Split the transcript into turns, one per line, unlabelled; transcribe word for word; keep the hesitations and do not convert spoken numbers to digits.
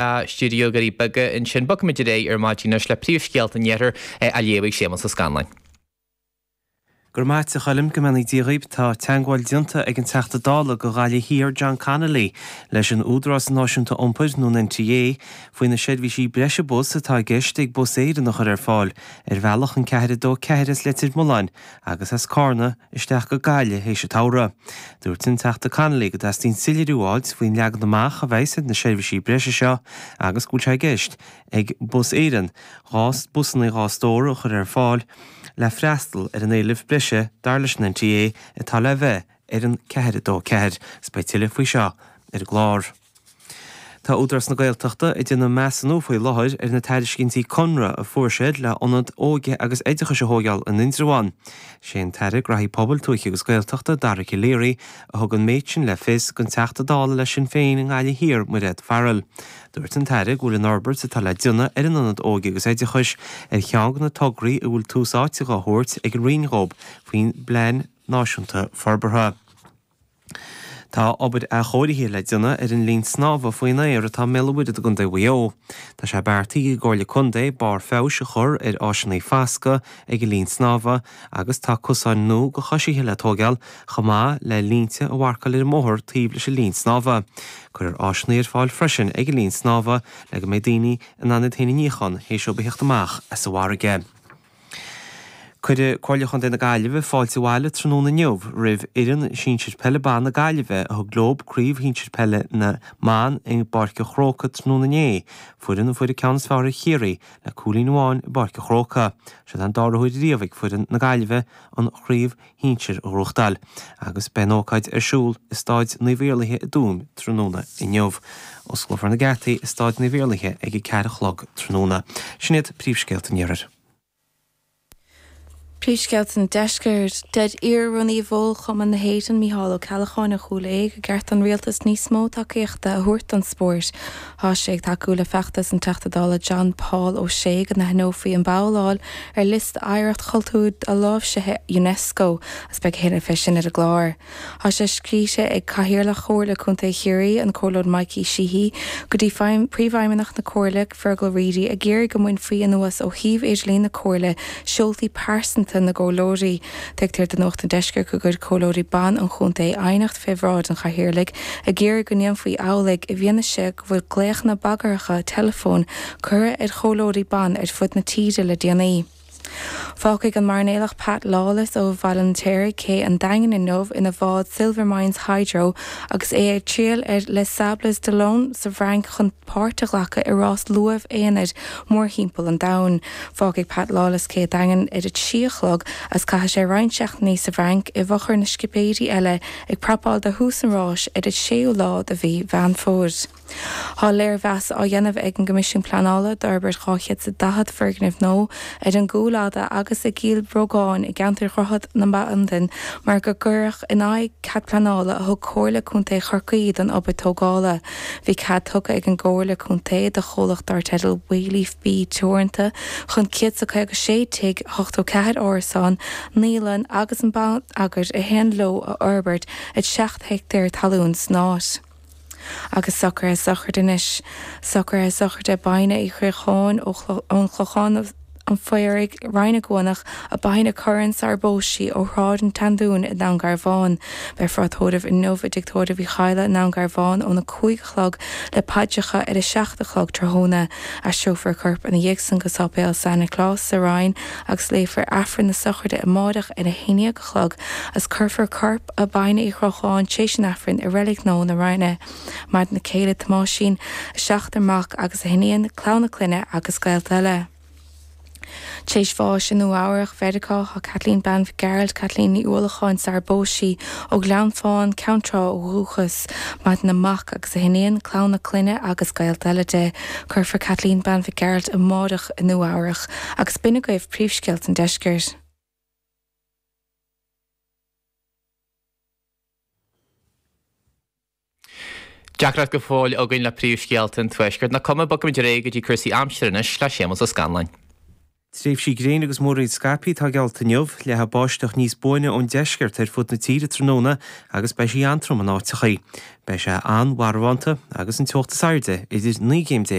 stiúideo Dhoirí Beaga ansin. Bogfaimid ar aghaidh ar maidin anois le príomhscéalta an iarthair a léifidh Séamus Ó Scanláin.
Go raibh maith agat a Choilm, go mbeannaí Dia dhaoib. Tá teagmháil déanta ag an Teachta Dála do Ghaillimh Thiar John Connolly leis an Údarás Náisiúnta Iompair nó an N T A faoi na seirbhísí breise bus atá i gceist ag Bus Éireann a chur ar fáil ar bhealach an ceathair a dó ceathair as Leitir Mealláin agus as Carna isteach go Gaillimh théis an tsamhraidh. Dúirt an Teachta Connolly go dteastaíonn soiléiriú a fháilt faoin leagan amach a bheas ar na seirbhísí breise seo agus go bhfuil sé i gceist ag Bus Éireann dhá busanna dhá stór a chur ar fáil le freastal ar an éileamh breise dar leis an N T A atá le bheith ar an ceathair a dó ceathair. 'S beidh tuilleadh faoi seo ar an gclár. Tá Údarás na Gaeltachta ag déanamh measúnú faoi láthair ar na tairiscintí conradh a fuair siad le ionad óige agus oideachais a thógáil in Indreabhán. Sé an tAire Gnóthaí Pobail, Tuaithe agus Gaeltachta Dara Calleary a thug an méid sin le fios don Teachta Dála le Sinn Féin i nGaillimh Thiar Mairéad Farrell. Dúirt an tAire go bhfuil an fhorbairt atá le déanamh ar an ionad óige agus oideachais ar cheann de na tograí a bhfuil tús áite á thabhairt ag an Roinn dhóibh faoin bPlean Náisiúnta Forbartha. Tá obair athchóirithe le déanamh ar an linn snámha faoin aer atá i mBéal an Mhuirthead i gContae Mhaigh Eo. Tá sé beartaithe ag an gComhairle Contae barr feabhais a chur ar áiseanna foscaidh ag an linn snámha agus tá cosáin nua do choisithe le tógáil chomh maith le línte a mharcáil ar an mbóthar taobh leis an linn snámha. Cuirfear áiseanna ar fáil freisin ag an linn snámha le go mbeidh daoine in ann iad féin a níochán théis dóibh a theacht amach as an bhfarraige. Cuirfidh Comhairle Chontae na Gaillimhe fáilte abhaile tráthnóna inniu roimh fhoireann sinsir peile ban na Gaillimhe a thug leo craobh shinsir peile na mban i bPáirc an Chrócaigh tráthnóna inné, foireann a fuair an ceann is fearr ar Chiarraí le cúilín amháin i bPáirc an Chrócaigh. Seo an dara huair riamh ag foireann na Gaillimhe an chraobh shinsir a ghnóthachtáil, agus beidh an ócáid ar siúl i Staid Naomh Iarlaithe i dTuaim tráthnóna inniu. Osclófar na geataí i Staid Naomh Iarlaithe ag a ceathair a chlog tráthnóna. Sin iad príomhscéalta an iarthair.
Príomhscéalta an deiscirt. Deir iar-rúnaí Bhólchumann na hÉireann Mícheál Ó Ceallacháin ó Chúil Aodha gur cheart don rialtas níos mó tacaíochta a thabhairt don spórt. Tá sé ag tacú le feachtas an Teachta Dála John Paul O'Shea go n-aithneofaí an bhabhláil ar liosta oidhreacht chultúir doláimhsithe UNESCO agus beidh tuilleadh fé sin ar an gclár. Tá sé scríte ag Cathaoirleach Chomhairle Contae Chiarraí an Comhairleoir Mikey Sheehy go dtí príomhfheidhmeannach na Comhairle Fergal Reidy ag iarraidh go mbainfí anuas ó shuíomh idirlín na Comhairle seoltaí pearsanta na gcomhairleoirí. Tuigtear do Nuacht an Deiscirt go gcuir comhairleoirí ban an chontae aighneacht fé bhráid an chathaoirligh ag iarraidh go ndéanfaí amhlaidh i bhfianaise go bhfuil glaochanna bagartha teileafóin curtha ar chomhairleoirí ban ar fud na tíre le déanaí. Fágfaidh an mairnéalach Pat Lawless ó Bhaile an Fheirtéaraigh cé an Daingin inniu ina bhád Silvermines Hydro agus é ag triall ar Les Sables d'Olonne sa bhFrainc chun páirt a ghlacadh i rás luamh aonair mórthimpeall an domhain. Fágfaidh Pat Lawless cé Daingin ar a trí a chlog agus caithfidh sé roinnt seachtainí sa bhFrainc i bhfochair na scipéirí eile ag prapáil do thús an ráis ar an séú lá de mhí Mheán Fómhair. Tá léirmheas á dhéanamh ag an gCoimisiún Pleanála d'fhorbairt dhá chéad is daichead foirgneamh nua ar an gCúil Fhada agus i gCill Bhrógáin i gceantar Dhroichead na Bandan mar gur cuireadh in aghaidh cead pleanála a thug Comhairle Contae Chorcaí don obair tógála. Bhí cead tugtha ag an gComhairle Contae do chomhlacht dar teideal Wayleaf B Teoranta chun céad is caoga sé tigh ochtó ceathair árasán, naíolann agus an bonneagar a théann leo a fhorbairt ar seacht heicteár talún san áit. Agus socruithe sochraide anois. Socruithe sochraide Baine Uí Chríocháin ón Chlochán an Phaoraigh Rinn na gCuanach a Baine Curran sar phós sí ó Shráid an tSeandúin i nDún Garbhán. Beifear á tórramh inniu i dTigh Tórraimh Uí Chadhla i nDún Garbhán óna cúig a chlog le paidreacha ar a seacht a chlog tráthnóna. Aistreofar a corp ina dhiaidh san go Sáipéal San Nioclás sa Rinn agus léifear Aifreann na sochraide amárach ar a haon déag a chlog agus cuirfear corp a Baine Uí Chrocháin tréis an Aifrinn i reilig nua na Rinne. Maireann a céile Tomáisín, a seachtar mac agus a hiníon, clann a clainne agus gaolta eile. Tréis bháis i Nua-Eabhrac Mheiriceá tá Kathleen Bean Mhic Kathleen Ní Uallacháin sar phós sí ó Ghleann Fáin Ceann Trá ó dhúchas, Maireann a mac agus a hiníon, clann a clainne agus gaolta eile di. Cuirfear Kathleen Bean Mhic amárach i Nua-Eabhrac agus b'in agaibh príomhscéalta an deiscirt.
Deacracht go fóill againn le príomhscéalta an tuaiscirt. Nach cuma, bogfaimid ar aghaidh go dtí cúrsaí aimsire anois le Séamus Ó Scanláin.
Tréimhsí gréine agus múraíl scaipthe atá geallta inniu, leathfaidh báisteach níos buaine ón deisceart ar fud na tíre tráthnóna agus beidh sí an-trom in áiteachaí. Beidh sé an-mharbhánta agus an teocht is airde idir naoi gcéim déag